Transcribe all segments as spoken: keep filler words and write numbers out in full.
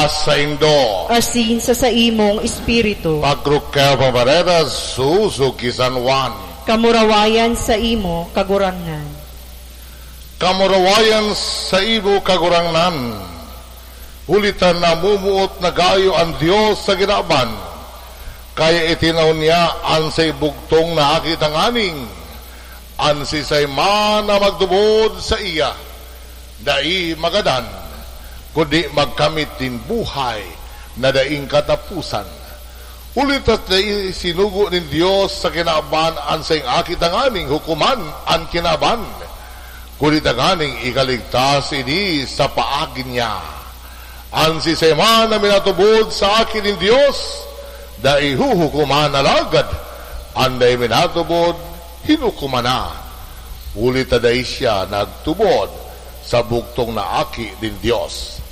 Saindo. Asin sa saimong espiritu. Pagrukel pampareda, susugi San Juan. Kamurawayan sa imo, Kagurangnan. Kamurawayan sa imo, Kagurangnan. Huli ta namumuot na gayo an Dios sa kinaban, kaya itinaw niya an saiyang bugtong na Aki tanganing an siisay man na magtubod saiya, dai magadan, kundi magkamit nin buhay na daing kataposan. Huli ta dai sinugo nin Dios sa kinaban an saiyang Aki tanganing hukoman an kinaban, kundi tanganing ikaligtas ini sa paagi niya. An siisay man na minatubod sa Aki nin Dios, dai huhukoman, alagad an dai minatubod, hinukoman na, huli ta dai siya nagtubod sa bugtong na Aki nin Dios.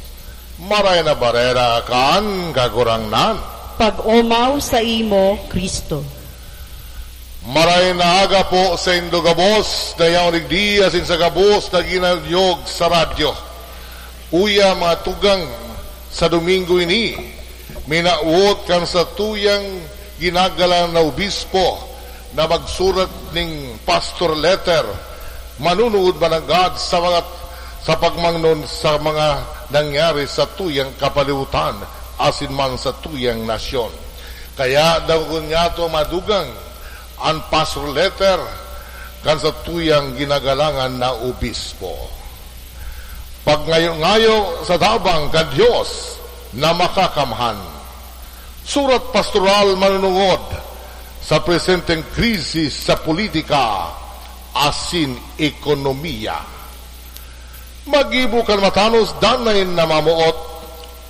Maray na Bareta kan Kagurangnan. Pag-omaw saimo, Cristo. Maray na aga po saindo gabos na yaon digdi asin sa gabos na ginanyog sa radyo. Uya, mga tugang, sa Domingo ini, minawot kan satuyang ginagalang na obispo na magsurat ning pastor letter, manunuod mananggad sa mga, sa pagmangnon sa mga nangyari sa tuyang kapalibutan asin man sa tuyang nasyon. Kaya dangogon niyato, mga tugang, an pastor letter kan satuyang ginagalangan na obispo. Pagngayo-ngayo sa tabang kan Dios na Makakamhan. Surat pastoral manunungod sa presenteng krisis sa politika asin ekonomiya. Maggibo kan matanos danay na mamoot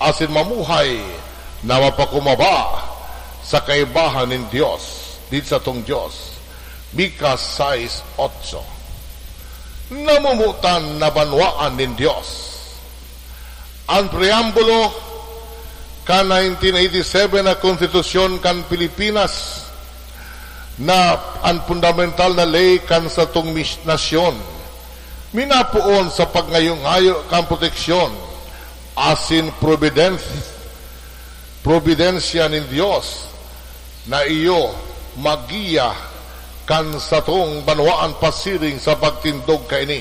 asin mamuhay na mapakumaba sa kaibahan nin Dios, nin satong Dios. Mika sais otso. Namomotan na banwaan nin Dios. An preambulo kan nineteen eighty-seven na Konstitusyon kan Pilipinas na an fundamental na ley kan satong mis-, nasyon, minapoon sa pagngayo-ngayo kan proteksyon asin probidens-, probidensya nin Dios na iyo maggiya kan satong banwaan pasiring sa pagtindog kaini.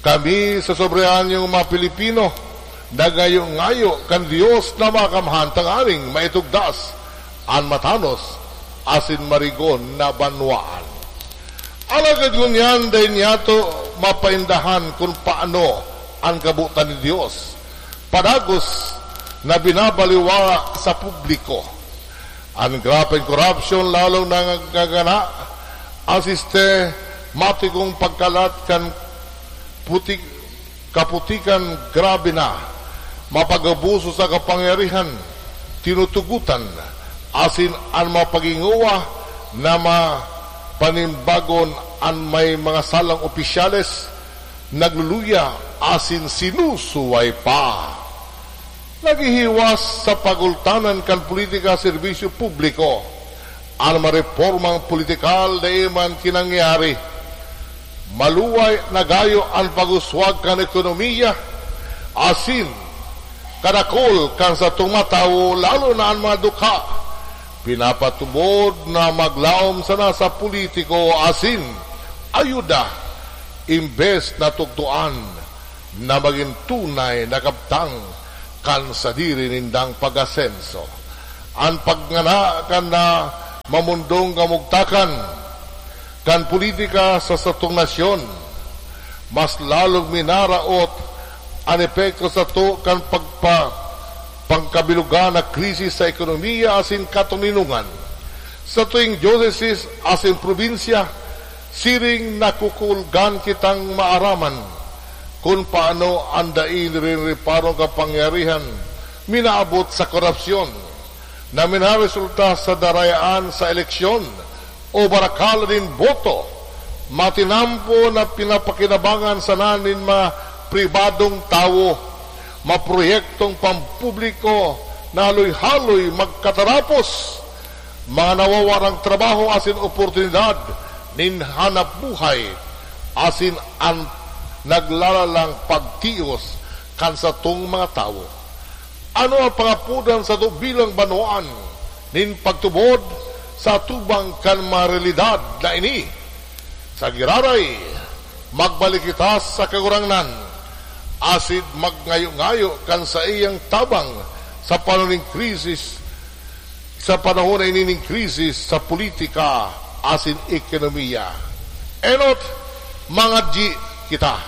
Kami sa sobreanyong mga Pilipino, nagngayo-ngayo kan Dios na Makakamhan tanganing maitugdas an matanos asin marigon na banwaan. Alagad ngunyan dai niyato mapaindahan kun paano an kabotan nin Dios padagos na binabaliwala sa publiko. An grabeng korapsyon lalong nangangagana, an sistematikong pagkalat kan putik, kaputikan grabe na, mapag-abuso sa kapangyarihan, tinutugotan, asin an mga paghingowa na mapanimbagon an may mga salang opisyales, nagluluya asin sinusuway pa. Naghihiwas sa pagultanan kan politika serbisyo publiko. An mga reformang politikal dai man kinangyari. Maluway na gayo an pag-uswag kan ekonomiya, asin kadakul kan satong mga tawo, lalo na an mga dukha, pinapatubod na maglaom sana sa politiko asin ayuda, imbes na tukdoan na magin tunay na kabtang kan sadiri nindang pag-asenso. An pagngana kan na mamundong kamugtakan kan politika sa satong nasyon, mas lalong minaraot an epekto sato kan pagpa-, pangkabilugan na krisis sa ekonomiya asin katoninongan. Satuing diosesis asin probinsya, siring nakukulgan kitang maaraman kun paano an dai nin reparong kapangyarihan minaabot sa korapsyon na minaresulta sa darayaan sa eleksyon o barakal nin boto, matinampo na pinapakinabangan sana nin mga pribadong tawo, mga proyektong pampubliko na haloy-haloy magkatarapos, mga nawawarang trabaho asin oportunidad nin hanap buhay, asin an naglalalang pagtios kan satong mga tawo. Ano an pangapodan sato bilang banwaan nin pagtubod sa atubang kan mga realidad na ini? Sa giraray, magbalik kita sa Kagurangnan, asin magngayo-ngayo kan saiyang tabang sa panahon nin krisis, sa panahon na ini nin krisis sa politika asin ekonomiya. Enot, mangadyi kita.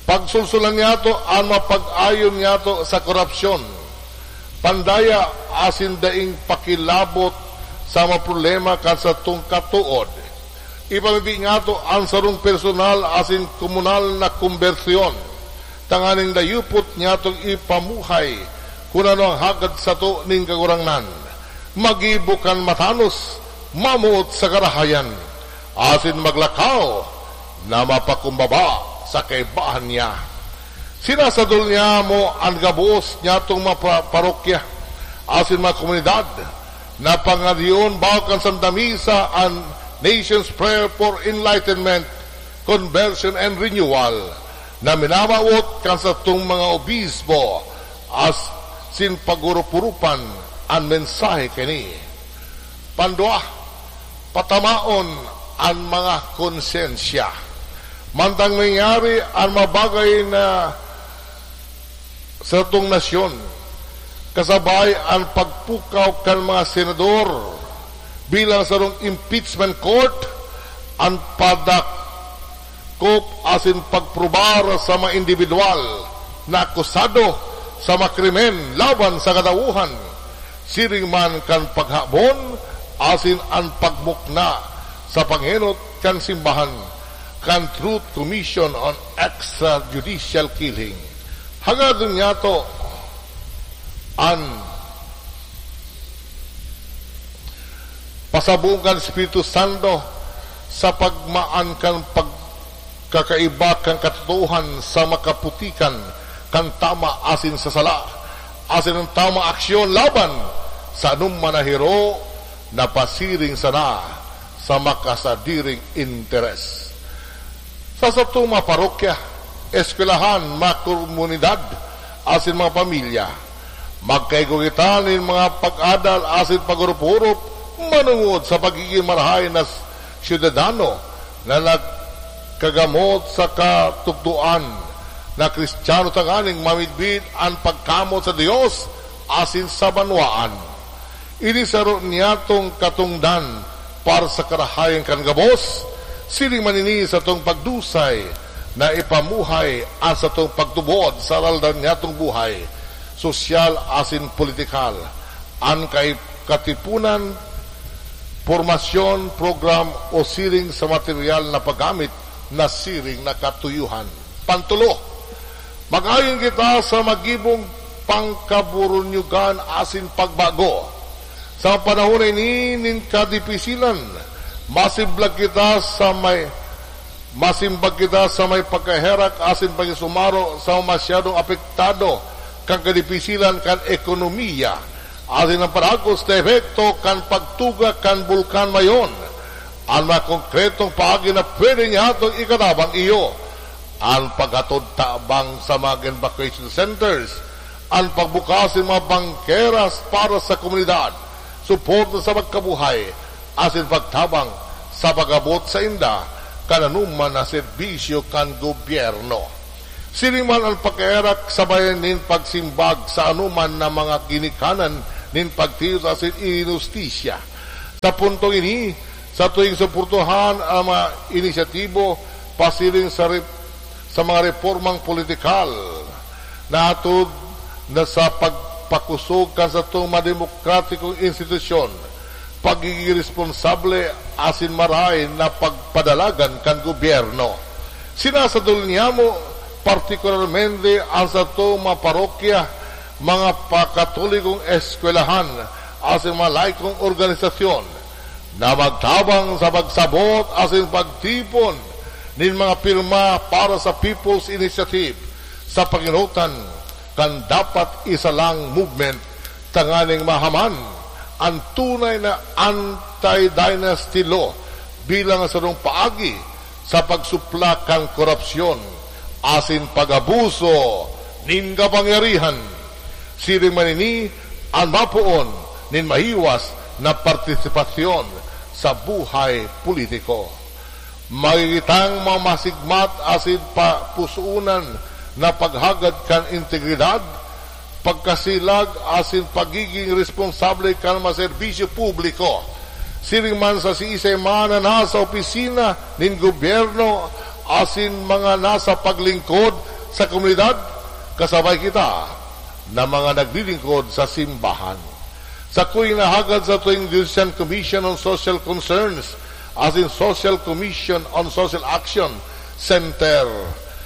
Pagsulsulan niyato an mapag-ayon niyato sa korupsyon, pandaya asin daing pakilabot sa mga problema kan satong katood. Ipamibi niyato an sarong personal asin komunal na kombersyon, tanganing dayupot niyatong ipamuhay kun ano an hagad sato nin Kagurangnan. Maggibo kan matanos, mamoot sa karahayan, asin maglakaw na mapakumbaba sa kaibahan niya. Sinasadol niya mo an gabos niyatong mga pa-, parokya asin mga komunidad na pangadyion bago kan Santa Misa an Nation's Prayer for Enlightenment, Conversion and Renewal na minamawot kan satong mga obispo asin pag-urup-urupan an mensahe kaini. Pandua, patamaon an mga konsyensya. Mantang nangyari an mga bagay na satong nasyon, kasabay an pagpukaw kan mga senador bilang sarong impeachment court, an padak-, kop asin pagprobar sa mga indibidwal na akusado sa mga krimen laban sa katawohan, siring man kan paghabon asin an pagmukna sa panghenot kan simbahan kan Truth Commission on Extrajudicial Killing. Hagadon niyato an pasabong kan Espiritu Santo sa pagmaan kan pagkakaiba kan katotoohan sa makaputikan kan tama asin sa sala, asin an tamang aksyon laban sa anoman na hiro na pasiring sana sa makasadiring interes. Sa satong mga parokya, eskwelahan, mga komunidad, asin mga pamilya, magkaigwa kita nin mga pag-adal asin pag-orop-orop manongod sa pagigin marahay na syudadano na nagkagamot sa katukdoan na Kristiyano, tanganing mamidbid an pagkamoot sa Dios asin sa banwaan. Ini saro niyatong katongdan para sa karahayan kan gabos, siring man ini satong pagdusay na ipamuhay an satong pagtubod sa aroaldaw niyatong buhay, sosyal asin politikal, an kai-, katipunan, pormasyon, program o siring sa materyal na paggamit na siring na katuyohan. Pantolo, mag-ayon kita sa magibong pangkaburunyogan asin pagbago. Sa panahon na ini nin kadipisilan, masimbag kita sa may, masimbag kita sa may pagkaherak asin pakisumaro sa masyadong apektado kan kadipisilan kan ekonomiya asin an paragos na epekto kan pagtuga kan Bulkan Mayon. An mga konkretong paagi na pwede niyatong ikatabang iyo, an paghatod tabang sa mga evacuation centers, an pagbukas nin mga bangkeras para sa komunidad, suporta sa magkabuhay, asin pagtabang sa pag-abot sainda kan anoman na serbisyo kan gobyerno. Siring man an pagkaherak sabay nin pagsimbag sa anoman na mga ginikanan nin pagtiyos asin inhustisya. Sa puntong ini, sa tuwing suportahan an mga inisyatibo pasiring sa rep-, sa mga repormang politikal na atod na sa pagpakusog kan satong mga demokratikong institusyon, pagigin responsable asin marahay na pagpadalagan kan gobyerno. Sinasadol niyamo partikularmente an satong mga parokya, mga pakatolikong eskwelahan, asin mga laikong organisasyon na magtabang sa pagsabot asin pagtipon nin mga pirma para sa People's Initiative sa pangenotan kan Dapat Isa Lang Movement, tanganing mahaman an tunay na anti-dynasty law bilang sarong paagi sa pagsupla kan korupsyon asin pag-abuso nin kapangyarihan. Siring man ini an mapoon nin mahiwas na partisipasyon sa buhay politiko. Magigitang mga masigmat asin papusunan na paghagad kan integridad, pagkasilag asin pagiging responsable kan mga serbisyo publiko. Siring man sa siisay man na nasa opisina nin gobyerno asin mga nasa paglingkod sa komunidad, kasabay kita na mga naglilingkod sa simbahan. Sakoy nahagad sa tuwing Diocesan Commission on Social Concerns asin Social Commission on Social Action Center,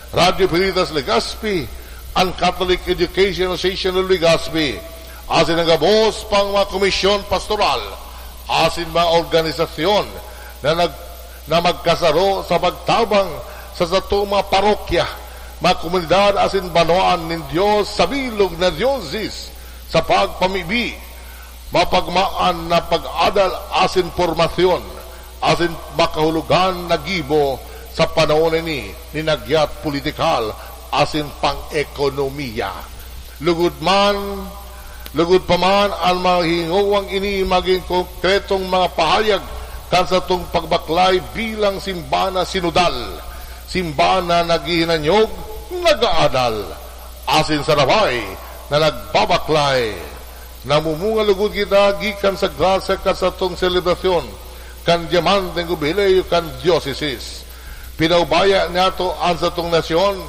Radyo Veritas Legazpi, an Catholic Education Association of Legazpi, asin an gabos pang mga komisyon pastoral asin mga organisasyon na nag-, na magkasaro sa pagtabang sa satong mga parokya, mga komunidad asin banwaan nin Dios sa bilog na diocese sa pagpamibi, mapagmaan na pag-adal asin pormasyon, asin makahulogan na gibo sa panahon na ini nin nagyat politikal asin pang-ekonomiya. Lugod man, lugod pa man an mga hingowang ini magin konkretong mga pahayag kan satong pagbaklay bilang simbahan na sinodal, simbahan na naghihinanyog, nag-aadal, asin sarabay na nagbabaklay. Namumunga lugod kita gikan sa grasya kan satong selebrasyon kan dyamanteng hubileo kan dioceses. Pinaubaya niyato an satong nasyon,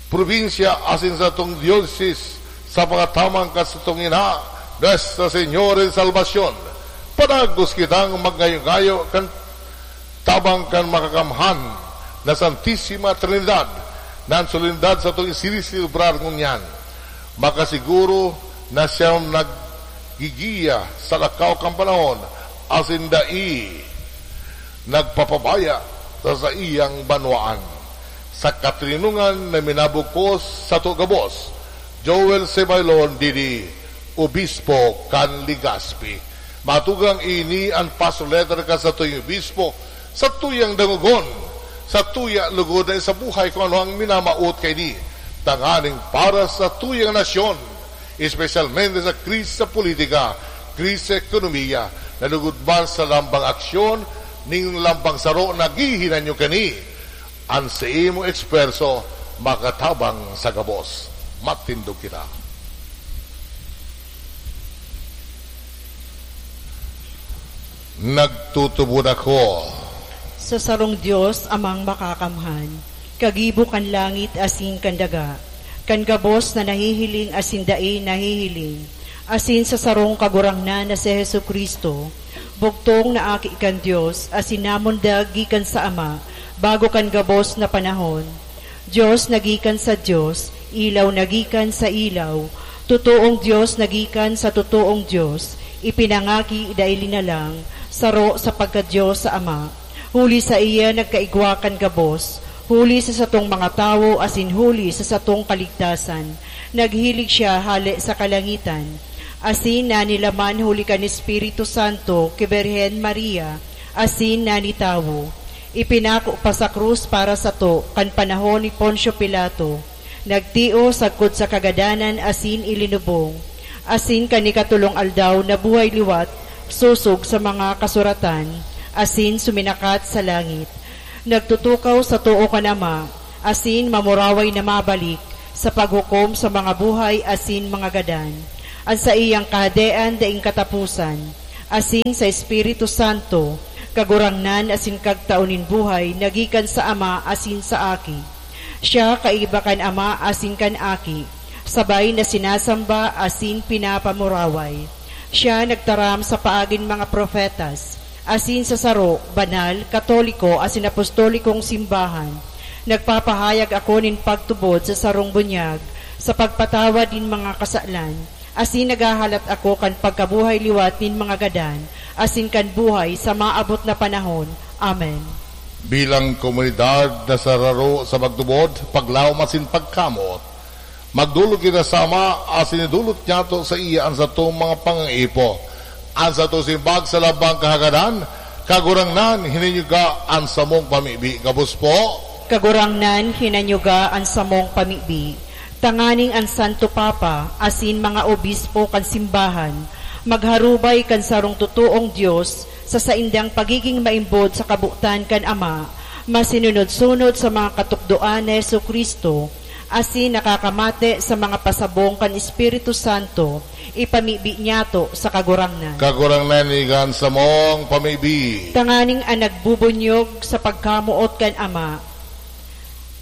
probinsya asin satong dioceses sa pagtaman kan satong Ina, Nuestra Señora de Salvacion. Padagos kitang magngayo-ngayo kan tabang kan Makakamhan na Santisima Trinidad, na an solenidad satong isiniselebrar ngunyan. Makasiguro na siya naggigiya sa lakaw kan panahon asin dai nagpapabaya sa saiyang banwaan. Sa katoninongan na minabugkos sato gabos, Joel Sebailon Didi, Obispo kan Legazpi. Matugang ini an pastor letter kan satuyang obispo, satuyang dangogon, satuya lugod na isabuhay kun ano an minamawot kaini, tanganing para sa satuyang nasyon, espesyalmente sa krisis sa politika, krisis sa ekonomiya, na lugod man sa lambang aksyon nin lambang saro naghihinanyog kani. An saimong esfuerso makatabang sa gabos. Matindog kita. Nagtutubod ako sa sarong Dios, Amang Makakamhan, kagibo kan langit asin kan daga, kan gabos na nahihiling asin dai nahihiling, asin sa sarong Kagurangnan na si Jesu-Cristo, bugtong na Aki kan Dios asin namundag gikan sa Ama bago kan gabos na panahon. Dios na gikan sa Dios, ilaw na gikan sa ilaw, totoong Dios na gikan sa totoong Dios, ipinangaki, dai linalang, saro sa pagka-Dios sa Ama. Huli saiya nagkaigwa kan gabos, huli sa satong mga tawo asin huli sa satong kaligtasan. Naghilig siya hale sa kalangitan, asin nanilaman huli kan Espiritu Santo ki Birhen Maria, asin nanitawo. Ipinako pa sa krus para sato kan panahon ni Poncio Pilato. Nagtios sagkod sa kagadanan asin ilinubong, asin kan ikatolong aldaw nabuhay liwat sosog sa mga kasuratan, asin suminakat sa langit. Nagtutukaw sa too kan Ama, asin mamuraway na mabalik sa paghukom sa mga buhay asin mga gadan. An saiyang Kahadean daing kataposan, asin sa Espiritu Santo, Kagurangnan asin Kagtao nin buhay na gikan sa Ama asin sa Aki. Siya kaiba kan Ama asin kan Aki, sabay na sinasamba asin pinapamuraway. Siya nagtaram sa paagin mga propetas, asin sa saro, banal, katoliko asin apostolikong simbahan. Nagpapahayag ako nin pagtubod sa sarong bunyag, sa pagpatawad nin mga kasalan, asin naghahalat ako kan pagkabuhay liwat nin mga gadan, asin kan buhay sa maabot na panahon. Amen. Bilang komunidad na sararo sa pagtubod, paglaom asin pagkamot, magdolok kita sa Ama asin idolot niyato saiya an satong mga pangaipo. An satong simbag sa lambang kahagadan, Kagurangnan, hinanyuga an samong pamibi. Gabos po. Kagurangnan, hinanyuga an samong pamibi. Tanganing an Santo Papa asin mga obispo kan simbahan magharubay kan sarong totoong Dios sa saindang pagiging maimbod sa kabotan kan Ama, masinunod-sunod sa mga katukdoan ni Jesu-Cristo, asin nakakamate sa mga pasabong kan Espiritu Santo, ipamibi niyato sa Kagurangnan. Kagurangnan, igan samong pamibi. Tanganing an nagbubunyog sa pagkamoot kan Ama,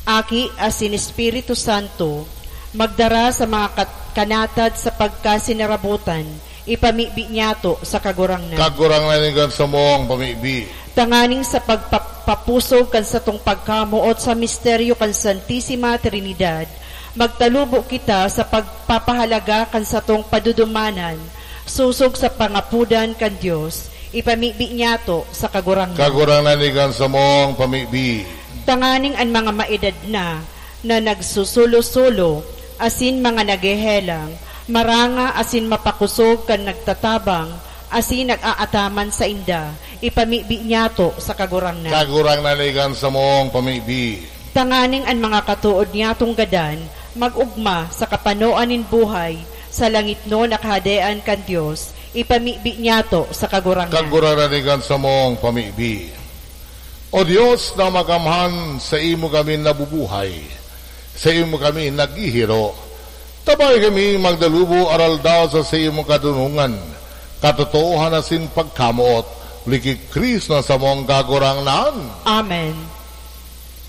Aki asin Espiritu Santo, magdara sa mga kat-, kanatad sa pagkasinarabotan, ipamibi niyato sa Kagurangnan. Kagurangnan, igan samong pamibi. Tanganing sa pagpapapusog kan satong pagkamoot sa misteryo kan Santisima Trinidad, magtalubo kita sa pagpapahalaga kan satong padudumanan, sosog sa pangapodan kan Dios, ipamibi niyato sa Kagurangnan. Kagurangnan, igan samong pamibi. Tanganing an mga maedad na, na nagsusulo-sulo, asin mga naghehelang, maranga asin mapakosog kan nagtatabang, asin nag-aataman sainda, ipamibi niyato sa Kagurangnan. Kagurangnan, igan samong pamibi. Tanganing an mga katood niyatong gadan, mag-ogma sa kapanoan nin buhay, sa langitnon na kahadean kan Dios, ipamibi niyato sa Kagurangnan. Kagurangnan, igan samong pamibi. O Dios na makamhan, saimo kami nabubuhay, saimo kami naghihiro. Tabae kami magdalubo aral daw sa saimong kadonongan, katotoohan asin pagkamoot, huli ki Cristo na samong Kagurangnan. Amen.